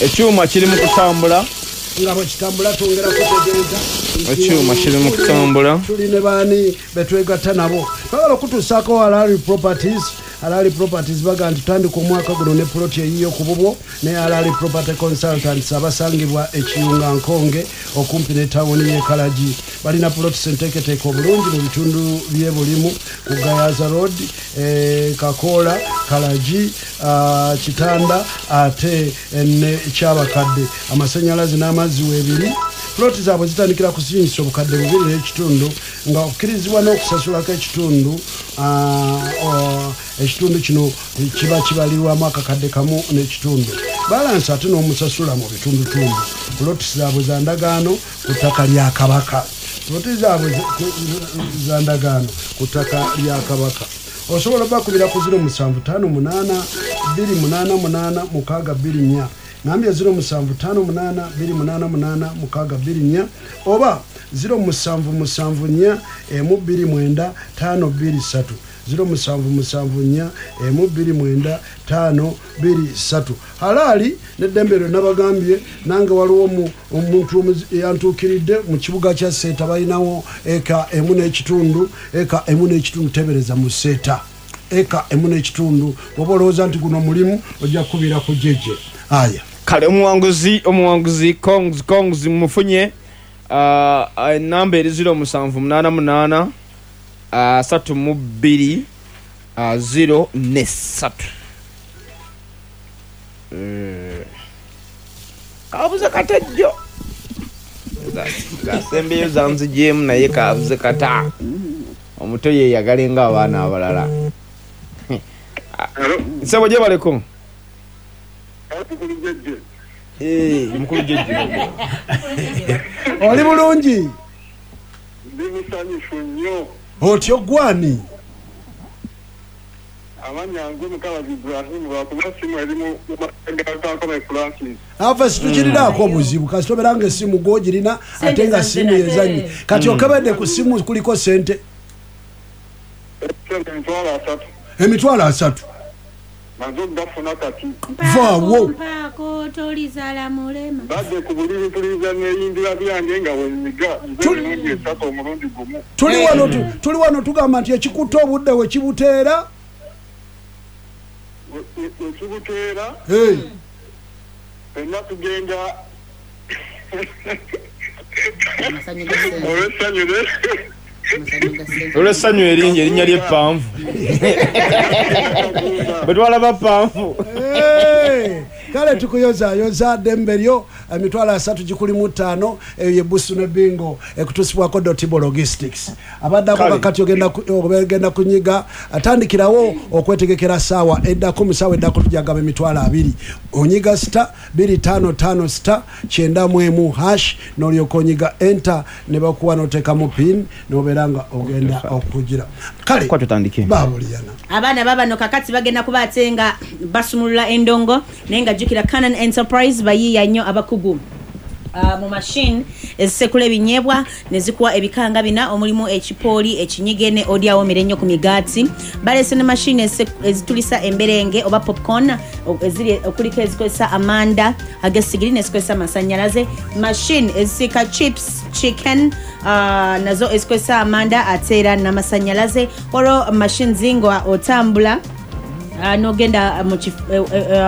Ekyuma kiri mu kutambula. Nga bwekitambula twongera kutegeeza. Ekyuma kiri mu kutambula. Tuli ne baani betwegatta nabo? Twagala okutuusaako Halali Properties. Halali Properties baga nti tandika omwaka guno ne ploti eyiyo ku bubwo ne Halali Property Consultants abasangibwa Ekiyunga Nkonge okumpi ne tawuni y'e Kalagi. Balina plots enteeketeeke obulungi mu bitundu by'e Bulimu ku Gayaza Road, Kakoola, Kalagi, Kitanda ate ne Kyabakadde. Amasannyalaze n'amazzi weebiri. Ploti zaabwe zitandikira ku siringisa 2500 nga okkirizibwa n'okusasulako ekitundu. Ekitundu kino kiba kibalirwamu 1500, balance ate n'omusasula mu bitundutundu. Ploti zaabwe za ndagaano ku ttaka lya Kabaka. Ploti zaabwe za ndagaano ku ttaka lya Kabaka. Osobola bakubira ku 0758 288 624, nambye 0758 288 624 oba 0774 129 523, 0774 129 523. Halali neddembe lyo nabagambye nange waliwo omuntu yantuukiridde mu kibuga kya Seeta, balinawo eka 1.5, eka 1.5. Tebereza mu Seeta eka 1.5. Oba olowooza nti guno mulimu, ojja kukubira ku jeje aya. Kale omuwanguzi congs mufunye. Enamba eri 0788 32 03. Kabuze kata jjo zasembeyo zanzigyemu, naye kabuze kata omuto yeyagale nga abaana abalala. Nsebo gye baleko. Mukulu jjejje, oli bulungi? Ndi musanyufu nnyo. Otyo gwani? Amannya nze Mukabazi Ibrahim, lwakuba simu eri mu Kankome Francis. Ava situkiriraako obuzibu kasita obeera nga essimu gwogirina ate nga simu yezannye. Kati okebedde ku simu kuliko sente? Sente 30,000. 30,000 Maze okugafuna kati. Vaawo. Mpaako tolizaala mulema. Badde ku buliri mpuliriza neeyindira byange nga wenyiga nze emirundi esatu omulundi gumu. Tuli wano tugamba nti ekikutte obudde we kibuteera. Wekibuteera fenna tugenda olw'essanyu. Olw'essanyu eringi, erinnya ly'eppanvu bwe twalaba ppanvu. Kale tukuyozayoza ddembe lyo, 305,000 gikulimu, eyo ye Busu ne Bingo ekutuusibwako Dotibo Logistics. Abaddako kakati ogenda kunyiga, atandikirawo okwetegekera saawa eddako. Mu saawa eddako tujagaba 20,000. Onyiga *255 *91# n'olyoka onyiga enter ne bakuwa n'oteekamu pin n'obeera nga ogenda okugira. Kale babuliyana abaana babano kakati bagenda kuba ate nga basumulula endongo, naye nga jjukira Canon Enterprise bayiiya nnyo abakugu mu machine ezisekula ebinyeebwa ne zikuwa ebikanga bina omulimu ekipooli, ekinyige ne oli awomera ennyo ku migaati. Baleese ne machine ezitulisa emberenge oba popcorn eziri okuliko ezikozesa amanda ag'essigiri n'ezikozesa amasannyalaze, machine ezisiika chips, chicken, nazo ezikozesa amanda ate era n'amasannyalaze. Olwo machines nga otambula n'ogenda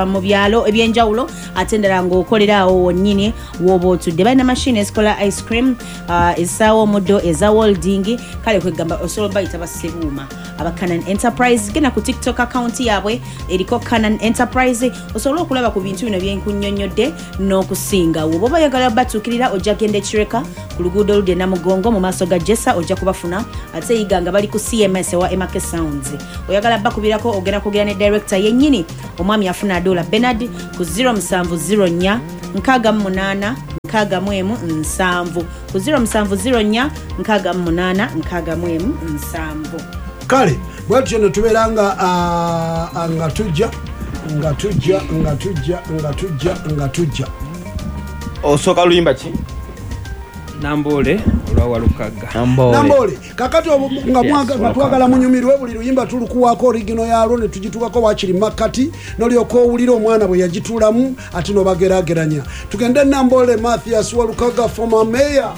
mu byalo ebyenjawulo ate endala ng'okolera awo wonnyini w'oba otudde. Balina machine ezikola ice cream, ezisaawa omuddo, eza welding. Kale kwegamba osobola bayita bassebuuma aba Canon Enterprise. Genda ku TikTok account yaabwe eriko Canon Enterprise osobole okulaba ku bintu bino byenkunnyonnyodde n'okusingawo. Bw'oba oyagala batuukirira ojja genda Ekireka ku luguudo oludde Namugongo mu maaso ga Jessa ojja kubafuna, ate yiga nga bali ku CMS ewa MK Sounds. Oyagala bakubirako ogenda kwogera ne director yennyini omwami afuna Adola Bernard ku 0704 68 61 7, ku 0704 68 61 7. Kale bwetutyo ne tubeera nga nga tujja nga tujja nga tujja nga tujja nga tujja. Osooka luyimba ki? Namboole olwa Walukagga. Namboole. Kakati nga nga twagala munyumirwe, buli luyimba tulukuwaako original yalwo ne tugituukako wakiri makkati, nolyoka owulira omwana bwe yagituulamu, ate nobageraageranya. Tugende Namboole, Mathias Walukaga, former mayor.